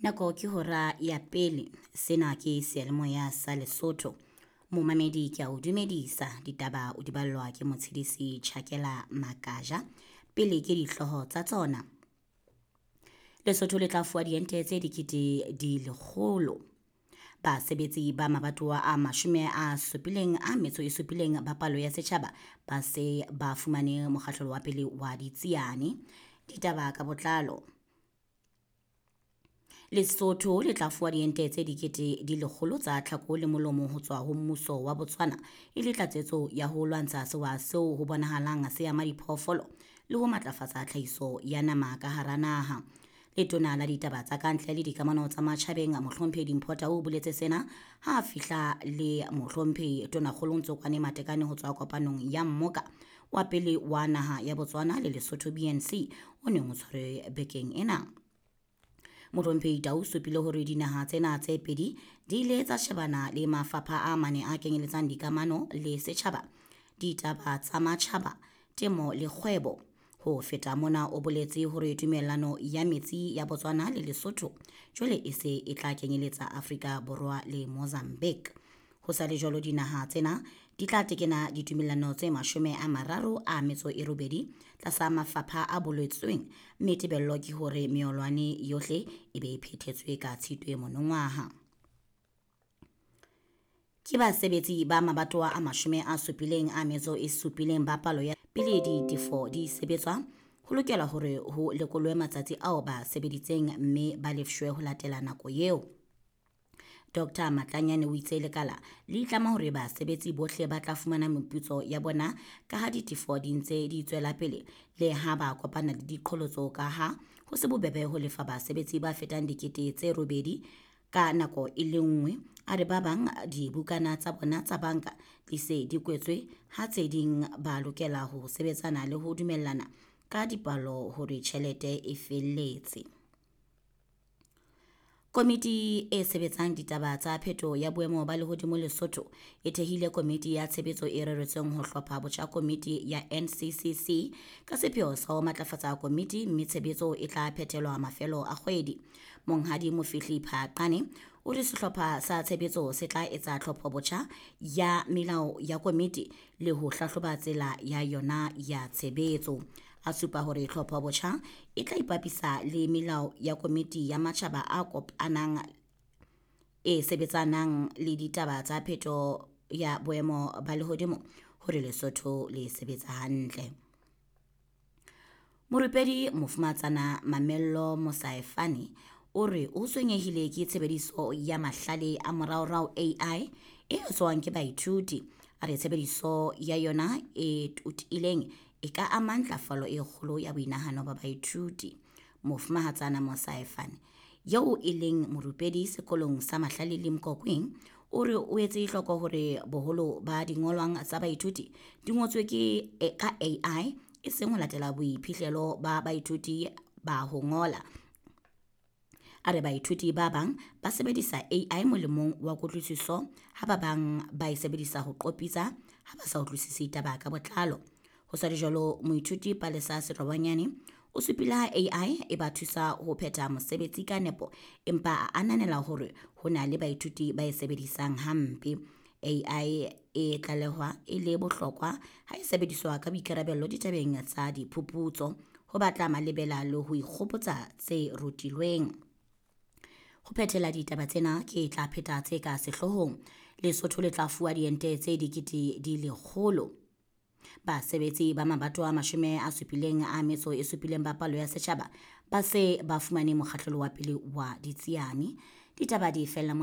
Nako ke hora ya pele. Sena ke seyalemoya sa Lesotho. Momamedi ke a o dumedisa. Ditaba o di ballwa ke motshedisi Tjhakela Makaja. Pele ke dihlooho tsa tsona. Lesotho le tla fuwa diente tse dikete di lekgolo. Basebetsi ba mabatowa a 77 ba palo ya setjhaba ba se ba fumane mokgahlelo wa pele wa ditsiane. Ditaba ka botlalo. Lesotho le tla fuwa diente tse dikete di lekgolo tsa tlhako le molomo ho tswa ho mmuso wa Botswana e le tlatsetso ya ho lwantsha sewa seo ho bonahalang se ama diphoofolo le ho matlafatsa tlhahiso ya nama ka hara naha. Letona la ditaba tsa kantle le dikamano tsa matjhabeng Mohlomphehi Dimpho Tau o boletse sena ha a fihla le Mohlomphehi Tonakgolo Ntsokoane Matekane ho tswa kopanong ya mmoka wa pele wa naha ya Botswana le Lesotho BNC o neng o tshwarwe bekeng ena. Mohlomphehi Tau supile hore dinaha tsena tse pedi di ile tsa shebana le mafapha a mane a kenyeletsang dikamano le setjhaba, ditaba tsa matjhaba, temo le kgwebo. Ho feta mona o boletse hore tumellano ya metsi ya Botswana le Lesotho jwale e se e tla kenyeletsa Afrika Borwa le Mozambique. Ho sa le jwalo dinaha tsena di tla tekena ditumellano tse 38 tlasa mafapha a boletsweng, mme tebello ke hore meolwane yohle e be e phethetswe ka Tshitwe monongwaha. Ke basebetsi ba mabatowa a 77 ba palo ya pele ditefo di sebetswa, ho lokela hore ho lekolwe matsatsi ao ba sebeditseng mme ba lefshwe ho latela nako eo. Dr Matlanyane o itse lekala le itlama hore basebetsi bohle ba tla fumana meputso ya bona ka ha ditefo di ntse di tswela pele le ha ba kopana le diqholotso ka ha ho se bobebe ho lefa basebetsi ba fetang 8 000 ka nako e le nngwe. A re ba bang dibukana tsa bona tsa banka di se di kwetswe ha tse ding ba lokela ho sebetsana le ho dumellana ka dipalo hore tjhelete e felletse. Komiti e sebetsang ditaba tsa pheto ya boemo ba lehodimo Lesotho e thehile komiti ya tshebetso e reretsweng ho hlopha botjha komiti ya NCCC ka sepheo sa ho matlafatsa komiti, mme tshebetso e tla phethelwa mafelo a kgwedi. Monghadi Mofihli Phaqane o re sehlopha sa tshebetso se tla etsa tlhopho botjha ya melao ya komiti le ho hlahloba tsela ya yona ya tshebetso. A supa hore tlhopho botjha e tla ipapisa le melao ya komiti ya matjhaba a kopanang e sebetsanang le ditaba tsa pheto ya boemo ba lehodimo hore Lesotho le sebetsa hantle. Morupedi Mofumatsana Mamello Mosaefane o re o tshwenyehile ke tshebediso ya mahlale a moraorao AI e etswang ke baithuti. A re tshebediso ya yona e totileng e ka ama ntlafalo e kgolo ya boinahano ba baithuti. Mofumahatsana Mosaefane eo e leng morupedi sekolong sa Mahlale le Mkokweng o re o etse hloko hore boholo ba dingolwang tsa baithuti di ngotswe ke ka AI e seng ho latela boiphihlelo ba baithuti ba ho ngola. A re baithuti ba bang ba sebedisa AI molemong wa kutlwisiso ha ba bang ba e sebedisa ho qopitsa ha ba sa utlwisise taba ka botlalo. Ho sa le jwalo moithuti Palesa Serobanyane o supile ha AI e ba thusa ho phetha mosebetsi ka nepo, empa a ananela hore ho na le baithuti ba e sebedisang hampe. AI e tlalehwa e le bohlokwa ha e sebediswa ka boikarabelo ditabeng tsa diphuputso, ho batla malebela le ho ikgopotsa tse rutilweng. Ho phethela ditaba tsena ke tla pheta tse ka sehloohong. Lesotho le tla fuwa diente tse dikete di lekgolo. Basebetsi ba mabatowa 77 ba palo ya setjhaba ba se ba fumane mokgahlelo wa pele wa ditsiane. Ditaba di fella mona.